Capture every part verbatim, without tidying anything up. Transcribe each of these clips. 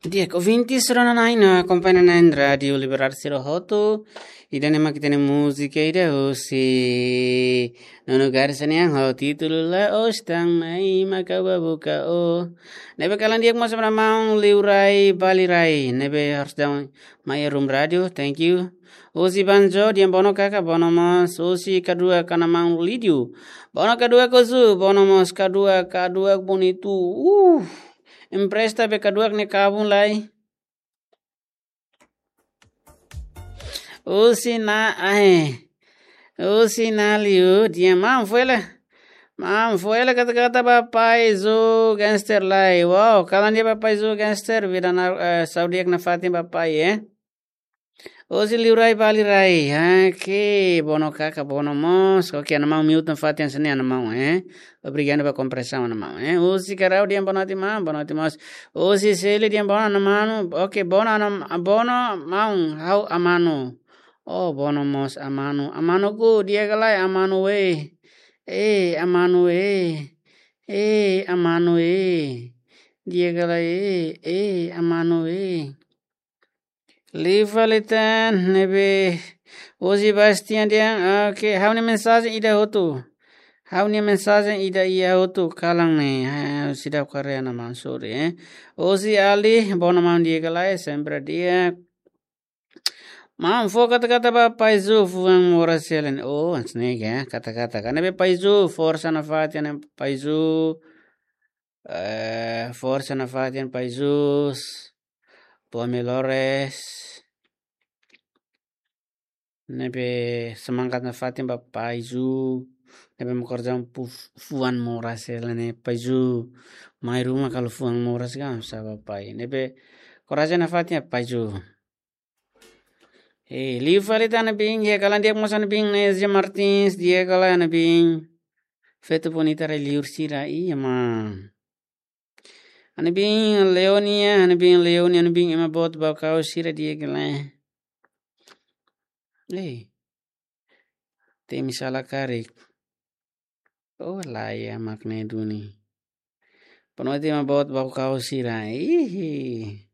Di'ak, ouvinte sira-nia akompaña ona Rádiu Liberdade sira hotu. Ida-ne'e mak ita-nia múzika ida husi Nuno Garcia nian ho títulu La'ós Tan Mai Mak Ha'u Bá Buka Ó. Ne'ebé kalan di'ak mós ba maun Liurai Balirai. Ne'ebé harus daudaun mai iha room rádiu. Thank you. Husi Banjo, di'ak, bono kaka, bono mós. Husi Kaduak, Ana Maun Lídio. Bono Kaduak husu, bono mós Kaduak, Kaduak bonitu. Uh, empresta be Kaduak nia kabun lai. Husi Na'i, husi Na'i Liu, di'ak, maun foin lai. Maun foin lai kata-kata ba Pai Zu Gangster lai. Wow, kalan di'ak ba Pai Zu Gangster, vida na, eh, saúde di'ak nafatin ba pai, eh. Husi Liurai Balirai. Oke, bono kaka, bono mós. Oke, Ana Maun mute nafatin hanesan ne'e Ana Maun, eh. Obrigadu ba kompreensaun Ana Maun, eh. Husi Karau, di'ak, boa noite maun, boa noite mós. Husi Seli, di'ak, bono Ana Maun. Oke, bono Ana, bono maun, ha'u Amanu. Oh, bono mós Amanu. Amanuku, di'ak ka lae, Amanu eh. Eh, Amanu eh. Eh, Amanu eh. Di'ak ka lae, eh, eh, Amanu eh. Liu fali tan, ne'ebé husi Bastian di'ak, oke, ha'u-nia mensajen ida hotu. Ha'u-nia mensajen ida iha hotu kalan ne'e, eh, seidauk haree Ana Maun, sorry, eh. Husi Ali, bono maun, di'ak ka lae, sempre di'ak. Maun fó kata-kata ba Pai Zu, fuan moras hela ne'e. Oh, hanesan ne'e ka, kata-kata. Ka ne'ebé Pai Zu, forsa nafatin Pai Zu. Eh, forsa nafatin Pai Zu. Boa melhores. Ne'ebé semangat nafatin ba Pai Zu. Ne'ebé mak korjan pu-, fuan moras hela ne'e Pai Zu. Mai ruma kalau fuan moras ka, sá ba pai. Ne'ebé korajen nafatin Pai Zu. Eh, liu fali tan Ana Bin, di'ak, kalan di'ak mós Ana Bin, Nézia Martins, di'ak ka lae Ana Bin. Feto bonita rai liur sira, iya maun. Ana Bin Leonia, Ana Bin Leonia, Ana Bin ema boot Baucau sira, di'ak ka lae. Eh. Temi sala karik. Oh, lae, mak ne'e duni. Boa noite ema boot Baucau sira. Ihi.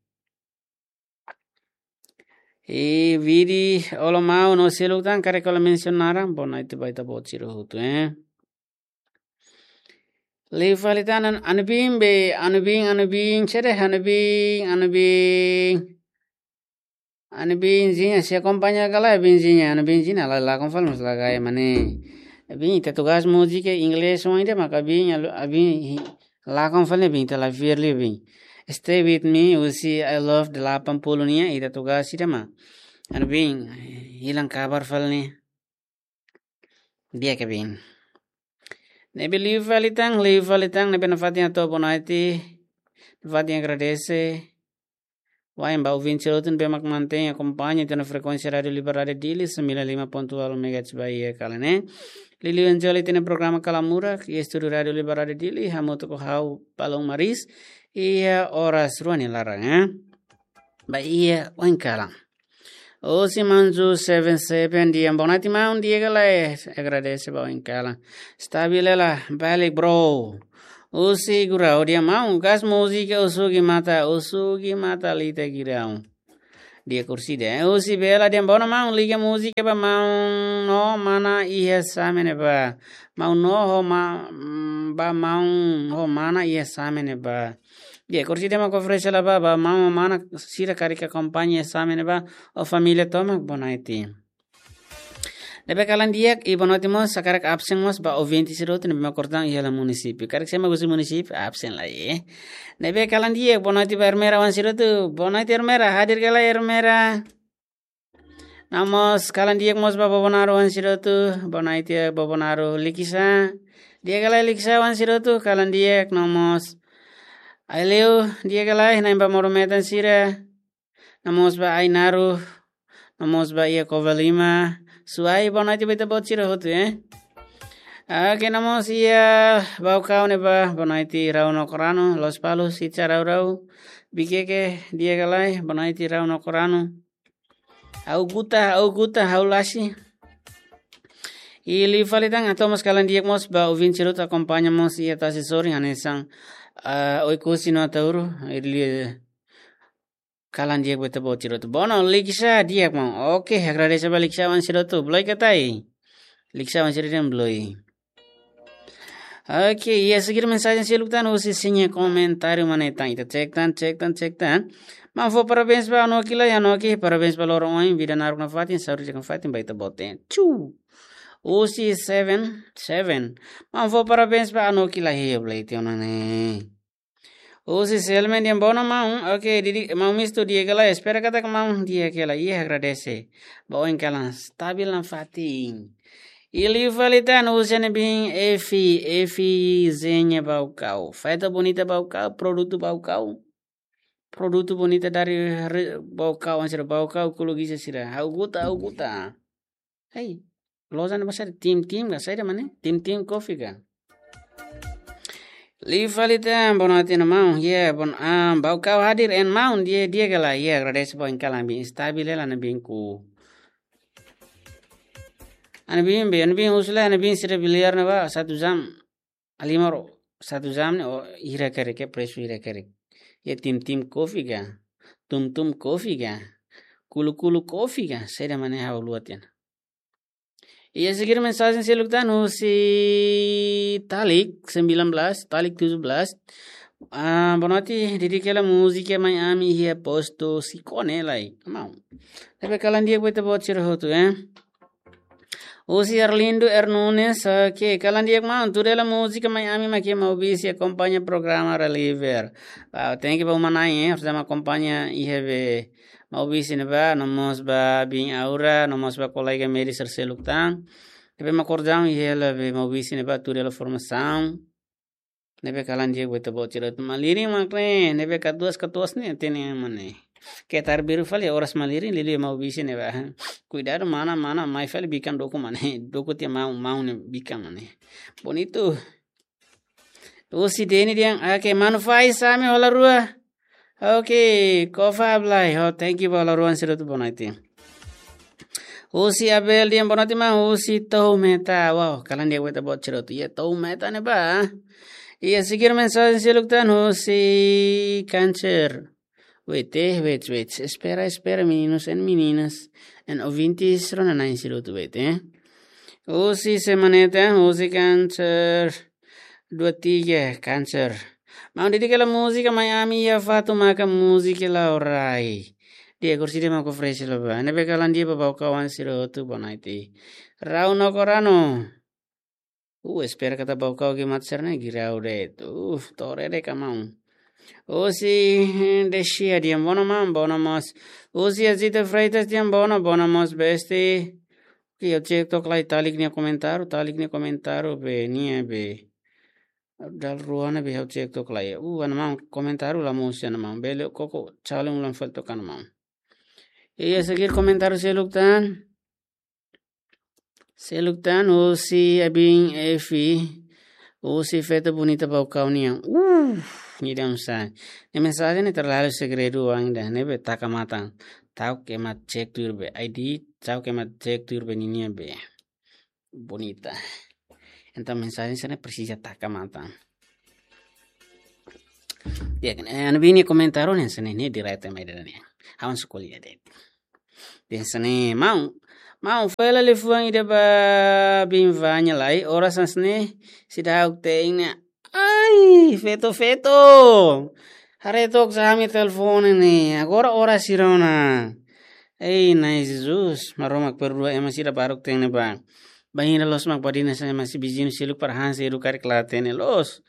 Eh, Vidi, olá maun, no seluk tan, karik kola mensiona naran, boa noite ba ita-boot sira hotu, eh. Liu fali tan Ana Bin be, Ana Bin, Ana Bin, sede Ana Bin, Ana Bin. Ana Binzinha, sei akompaña ka lae Binzinha, Ana Binzinha, la, lakon fali mós la gaya mane. Bin, ita tugas múzika inglés oin ida maka Bin, alu-, Bin, hi-, lakon fali Bin, ita la fiar liu Bin. Stay with me, husi I Love delapan puluh nian, ita tugas ida mak Ana Bin, hilang kabar fali ne'e. Di'ak ka Bin. Ne'ebé liu fali tan, liu fali tan, ne'ebé nafatin hato'o boa noite. Nafatin agradese. Wa'in ba ouvinte sira hotu ne'ebé mak mantein akompaña ita-nia frekuénsia Rádiu Liberdade Dili, sembilan lima ponto nol megahertz ba iha kalan ne'e. Liuliu Angel ita-nia programa Kala Murak, iha estúdiu Rádiu Liberdade Dili, hamutuk ho ha'u Palom Maris, iha oras rua nia laran, eh. Ba iha oin kalan. Husi Manju seven seven, di'ak, boa noite maun, di'ak ka lae, agradese ba oin kalan. Stabil hela, balik bro. Husi Gurau, di'ak maun, gas múzika Usugi Mata, Usugi Mata Lita Gurau. Di'ak, kursi di'ak, husi Bela, di'ak, bono maun, liga múzika ba maun no mana iha Same ne'ebá. Maun no ho ma-, mm, ba maun ho mana iha Same ne'ebá. Di'ak, kursi di'ak mak oferese hela ba, ba maun mana sira karik akompaña Same ne'ebá, ho família tomak, boa noite. Ne'ebé kalan di'ak, i boa noite mós, hakarak absen mós ba ouvinte sira hotu ne'ebé mak kortan iha hela munisípiu. Karik sé mak husi munisípiu, absen lai, eh. Ne'ebé kalan di'ak, boa noite ba Ermera oan sira hotu. Boa noite Ermera, hadir ka lae Ermera? No mós kalan di'ak mós ba Bobonaro oan sira hotu. Boa noite Bobonaro, Likisá. Di'ak ka lae Likisá oan sira hotu, kalan di'ak, no mós Aileu, di'ak ka lae, na'in ba modo-metan sira. No mós ba Ainaro, no mós ba iha Covalima. Suai, boa noite ba ita-boot sira hotu, eh. Oke, no mós iha Baucau ne'ebá, boa noite Rau no Korano, Lospalos, Ica Rau Rau. Viqueque, di'ak ka lae, boa noite Rau no Korano. Ha'u guta, ha'u guta, ha'u lasi. I liu fali tan, hato'o mós kalan di'ak mós ba ouvinte sira hotu akompaña mós iha tasi sorin hanesan, ah, Oekusi no Ataúro, i liu, Kalan di'ak ba ita-boot sira hotu. Bono, Liksa di'ak maun. Oke, agradese ba Liksa wan sira hotu. Beloi ka lae? Liksa wan sira dehan beloi. Oke, iha seguir mensajen seluk tan husi sira-nia komentáriu mak ne'e tan. Ita cek tan, cek tan, cek tan. Maun fó parabéns ba Anoki lai, Anoki, parabéns ba loron ohin, vida naruk nafatin, saúde di'ak nafatin ba ita-boot. Chu. Husi seven seven. Maun fó parabéns ba Anoki lai, hei, beloi tiha ona ne'e. Husi Selmen dehan bono maun. Oke, di'ak maun Mistu di'ak ka lae, espera katak maun di'ak ka lae. Iha agradese. Ba oin kalan stabil nafatin. Liu fali tan husi ne'ebé Efi, Efi Zenya Baucau. Feto bonita Baucau, produtu Baucau. Produtu bonita dari re-, Baucau, sira Baucau, kulu giza sira. Ha'u guta, ha'u guta. Hei, loja ne'e ba saida, Tim Tim ka saida mak ne'e? Tim Tim Coffee ka? Liu fali tan, bono tiha ona maun, ya, bon, ah, Baucau hadir en maun, di'ak, di'ak ka lae, ya, agradese ba oin kalan bin, stabil hela ne'ebé ku. Ne'ebé be, ne'ebé husi la, ne'ebé sira beliar ne'e ba, satu jam, halimar, satu jam ne'e, o, hira karik, presu hira karik. Ya, Tim Tim Coffee ka, Tum Tum Coffee ka, Kulu Kulu Coffee ka, saida mak ne'e ha'u haluha tiha ona. Iha seguir mensajen seluk tan husi Talik sembilan belas, Talik tujuh belas. Ah, bonoite, dedika hela múzika Mai Ami iha postu Sikone lai. Maun. Ne'ebé kalan di'ak ba ita-boot sira hotu, eh. Husi Arlindo R Nunes, oke, kalan di'ak maun, tuda hela múzika Mai Ami mak iha Maubisse akompaña programa Reliever. Wow, thank you ba uma-na'in, eh, orsida mak akompaña iha be Maubisse ne'ebá, no mós ba biin Aura, no mós ba kolega médiku sira seluk tan. Ne'ebé mak akompaña hela be Maubisse ne'ebá tuda hela formasaun. Ne'ebé kalan di'ak ba ita-boot sira hotu. Malirin mak ne'e, ne'ebé katuas-katuas ne'e, hatene ema ne'e. Ketar biru fali, oras malirin, liuliu Maubisse ne'ebá. Kuidadu, mana, mana, mai fali bikan dukur mak ne'e. Dukur tiha maun, maun ne'e bikan mak ne'e. Bonitu. Husi Deni dehan, oke, manu fai sami hola rua. Oke, kofa ablai. Oh, thank you ba hola rua sira hotu bonoite. Husi Abel dehan bonoite maun husi Toumeta. Wow, kalan di'ak ba ita-boot sira hotu. Ya, Toumeta ne'ebá. Iha seguir mensajen seluk tan husi Kanser. Wait, eh, wait, wait. Espera, espera, meninos e meninas. En ouvintes, rona-na'in sira hotu, wait, eh. Husi Semaneta, husi Kanser. Dua tiga, Kanser. Maun, dedika hela múzika Mai Ami iha fatin maka múzika Laurai. Di'ak, orsida mak oferese la ba. Ne'ebé kalan di'ak ba Baucau wan sira hotu bonoite. Rau no korano. Uh, espera katak Baucau ke mat serne girau de. Uh, tore de kamau. Husi Desia dehan bono maun, bono mós. Husi Azita Freitas dehan bono, bono mós besti. Oke, ha'u cek took lai Talik nia komentáriu, Talik nia komentáriu be nia be. Dala rua ne'e be ha'u cek took lai. Uh, ana maun komentáriu la mosu ana maun. Bele koko calung lam fel took ana maun. Iha seguir komentáriu seluk tan. Seluk tan husi Abin Efi. Husi feto bonita Baucau nian. Uh, ni dam sa. Ne'e mensajen ne'e terlalu segredu wan ida. Ne'ebé taka matan. Ta'uk ema cek tuir be. I D, ta'uk ema cek tuir be ninia be. Bonita. Entaun mensajen sira-ne'e presiza taka matan. Ya kan, eh, ana biin nia komentáriu ne'e hanesan ne'e, ne'e direta mai ida-ne'e. Ha'u sukulia de'it. Dehan hanesan ne'e, maun, maun fali liafuan ida ba biin Vanya lai, oras hanesan ne'e, seidauk te'in ne'e. Ai, feto, feto. Haree took sá ami telefone ne'e. Agora oras hira ona. Ei, Na'i Jesus, Maromak perdua ema sira baruk te'in ne'ebá. Bainhira loos mak badina sa ema sira viziñu seluk para han seidauk karik la hatene loos.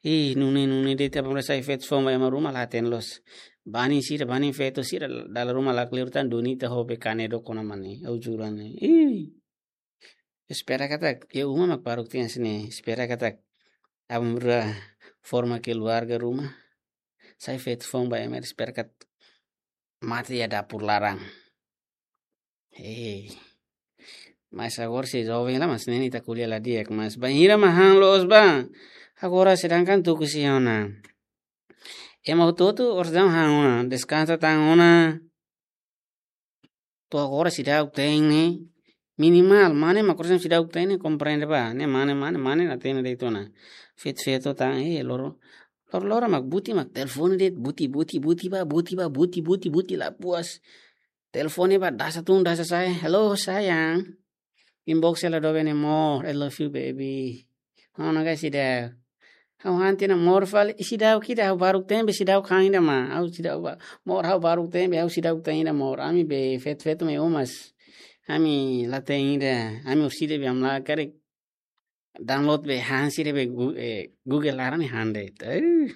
Ih, nune'e, nune'e de'it apa merasa feto foun ba ema ruma la hatene loos. Banin sira, banin feto sira, dala ruma lakleur tan duni ita ho be kane do kona mane. Ha'u jura ne'e. Ih. Espera katak, iha uma mak baruk tiha hanesan ne'e. Espera katak, aban-bainrua forma keluarga ruma. Sai feto foun ba ema, espera katak mate iha dapur laran. Hei. Mas agora sei joven la, mas ne'e ita ko'alia la di'ak, mas bainhira mak han loos ba. Agora sedangkan tuku sei ona. Ema hotu-hotu oras daudaun han ona, deskansa tan ona. To'o agora seidauk te'in ne'e. Minimal, mane mak oras daudaun seidauk te'in ne'e, komprende ba. Ne'e mane, mane, mane la hatene de'it ona. Feto, feto tan, eh, loro. Loroloron mak buti mak telefone de'it, buti, buti, buti ba, buti ba, buti, buti, buti la puas. Telefone ba dasa tun, dasa sa'e. "Hello, sayang." Inbox hela doben ne'e, "Amor, I love you, baby." "Ha'u nunka seidauk." "Ha'u han tiha ona, amor, fali." "Seidauk ida, ha'u baruk tembe, seidauk han ida mak." "Ha'u seidauk ba, amor, ha'u baruk tembe, ha'u seidauk te'in ida, amor. Ami be feto-feto mai uma, ami la te'in ida, ami orsida be ami la karik download be han sira be Gu-, eh, Google laran ne'e han de'it." Eh.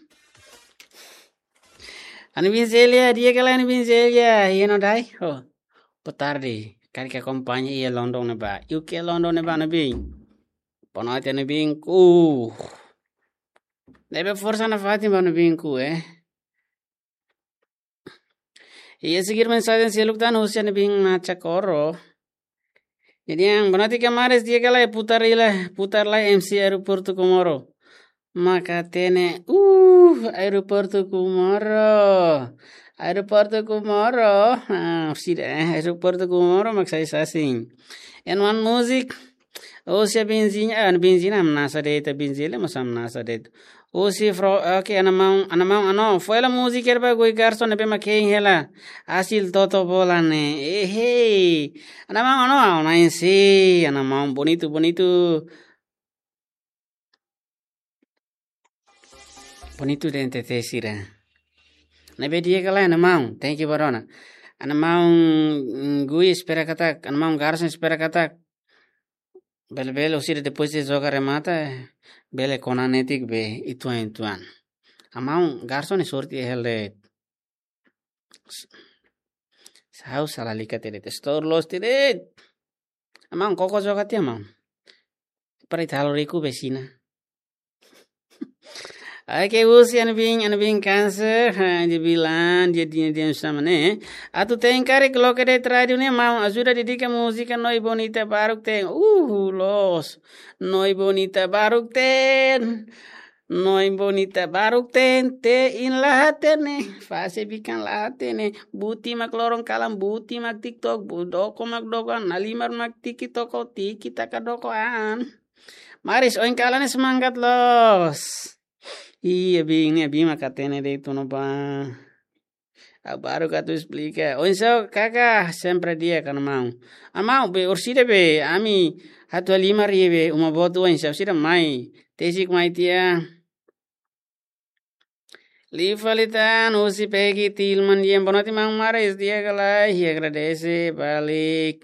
Ana bin Zelia, di'ak ka lae, ana bin Zelia? Iha no dai? Oh, boa tarde. Karik akompaña iha London ne'ebá. U K London ne'ebá, ana bin. Boa noite, ana bin. Uh. Ne'ebé forsa nafatin ba, ana bin, ku, eh. Iha seguir mensajen seluk tan husi ana bin Nacha Koro. Jadi, yang boa noite, kamaradas, di'ak ka lae, putar ila, putar lai M C Aeroportu Comoro. Mak hatene, uh, Aeroportu Comoro. Aeroportu Comoro. Ah, sida, eh, Aeroportu Comoro mak sai sasin. And one music. Husi Benzinha, ah, Benzinha hamnasa de'it, Benzinha mós hamnasa de'it. Husi Fro, oke, ana maun, ana maun, ano, fó hela múzika ba goi garson ne'ebé mak hein hela. Asil toto bola ne'e. Eh, hey. Ana maun, ano, ah, ana ensai, ana maun, bonitu, bonitu. Bonitu de'it N T T sira. Ne'ebé di'ak ka lae, ana maun? Thank you ba rona. Ana maun, mm, Gui espera katak, ana maun garson espera katak. Bele-bele orsida depois de joga remata, bele kona netik be ituan-ituan. Ana maun garson ne'e sorte hela de'it. Ha'u sala lika tiha de'it, store loos tiha de'it. Ana maun koko joga tiha, maun. Para ita halo riku be sina. Oke, husi ana bin, ana bin Cancer, ha, dia bilang, dia, dia, dia sama ne'e. Atu te'in karik loke de'it rádiu ne'e, maun ajuda dedika múzika Noi Bonita Baruk Ten. Uh, loos. Noi Bonita Baruk Ten. Noi Bonita Baruk Ten, te'in la hatene, fase bikan la hatene, buti mak loron kalan, buti mak TikTok, bu doko mak dokoan, nalimar mak tiki toko, tiki taka dokoan. Maris, oin kalan ne'e semangat loos. Iya, bin, ne'e bin mak hatene de'it ona ba. Ha'u baruk atu esplika. Oinsá, kaka, sempre di'ak ka lae, maun? Ana maun, be, orsida be, ami atu halimar iha be, uma boot oinsá, orsida mai. Tesik mai tiha. Liu fali tan, husi Peggy Tilman, di'ak, boa noite, maun Maris, di'ak ka lae, i agradese, balik.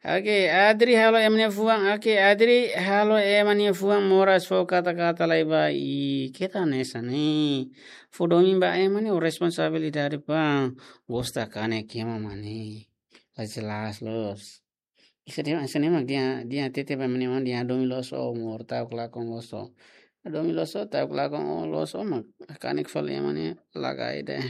Oke, Adri halo ema nia fuan. Oke, Adri halo ema nia fuan moras fó kata-kata lai ba. I, keta hanesan ne'e. Fó domin ba ema nia responsabilidade ba. Gosta kanek ema mak ne'e. La jelas loos. Ida-ne'e, ida-ne'e mak dehan, dehan hatete ba ema nia, dehan domin loos ó, amor, ta'uk lakon loos ó. Domin loos ó, ta'uk lakon ó, loos ó mak. Kanek fali ema nia lagai de'it.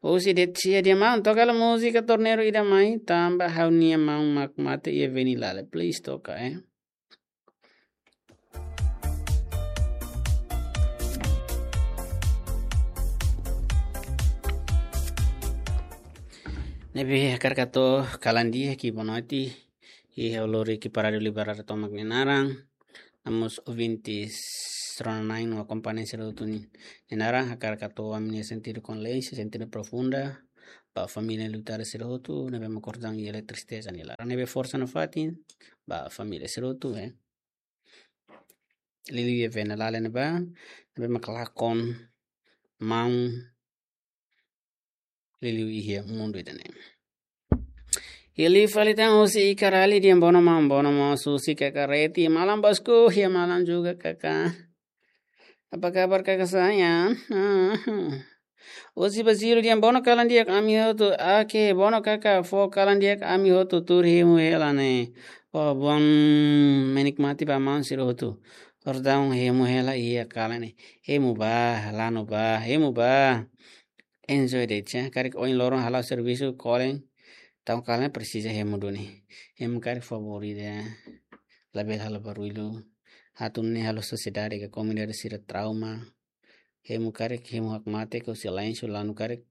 Husi Detsia, di'ak maun, toka hela múzika Torneiro ida mai, tanba ha'u-nia maun mak mate iha Venilale. Please toka, eh. Ne'ebé hakarak hato'o kalan di'ak, boa noite. Iha lori ki'ik ba Rádiu Libertadór tomak nia naran. Nomós ouvintes rona-na'in no akompañante sira hotu nia naran, hakarak hato'o ami-nia sentidu kondolénsia, sentidu profunda ba família lutar sira hotu, ne'ebé mak kortan iha tristeza nia laran. Ne'ebé forsa nafatin ba família sira hotu, eh. Liuliu iha Venilale ne'ebá, ne'ebé mak lakon maun liuliu iha mundu ida-ne'e. Liu fali tan husi Ikarali, di'ak, bono maun, bono maun Susi, kaka Reti, malam bosku, ya malam juga kaka. Apa kabar kaka sayang? Ah. Husi Baziru, di'ak, bono kalan di'ak ami hotu. Oke, bono kaka, fó kalan di'ak ami hotu tuur hemu hela ne'e. Oh, bom menikmati ba maun sira hotu. Kordang hemu hela iha kalan ne'e. Hemu ba, lanu ba, hemu ba. Enjoy de'it, ya. Karik ohin loron hala'o servisu, kolen. Tau kalan presiza hemu duni. Hemu karik favor ida. Labele halo barullu. Hatun ne'e halo sosiedade ka komunidade sira trauma. Hemu karik, hemu hakmatek, ka silensiu, lanu karik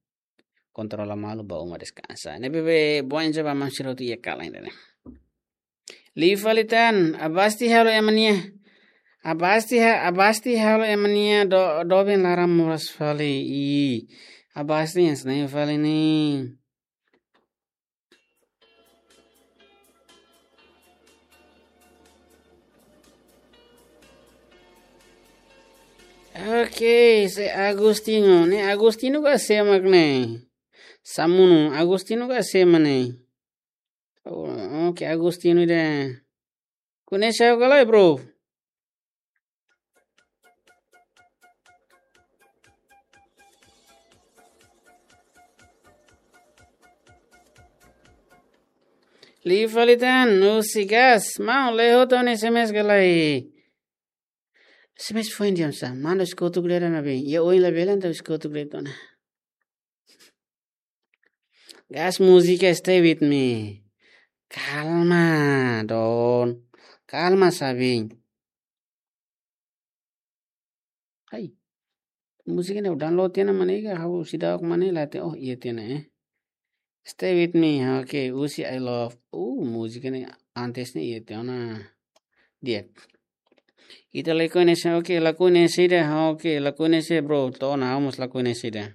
kontrola malu, ba uma deskansa. Ne'ebé bom enjoy ba maun sira hotu iha kalan ida-ne'e. Liu fali tan, abasti halo ema nia. Abasti ha, abasti halo ema nia do, doben laran moras fali. I, abasti yang senai fali ni. Oke, se Agostinho. Ne'e Agostinho ka sé mak ne'e? Samunu, Agostinho ka sé mak ne'e? Oh, oke, Agostinho ida. Koñese ha'u ka lae, bro? Liu fali tan, husi Gas, maun, lee hotu ó-nia S M S ka lae? S M S foin di'ak sá, manda husi kotuk de'it ona be. Iha oin labele entaun husi kotuk de'it ona. Gas múzika Stay With Me. Kalma, Don. Kalma, sabi. Hai. Múzika ne'e download tiha ona mak ne'e ka, ha'u seidauk mak ne'e la hatene. Oh, iha tiha ona, eh. Stay With Me, oke, husi I Love. Uh, múzika ne'e antes ne'e iha tiha ona. Di'ak. Ita lakohi ne'e sé, oke, lakohi ne'e sé ida, oke, lakohi ne'e sé, bro. To'o ona, ha'u mós lakohi ne'e sé ida.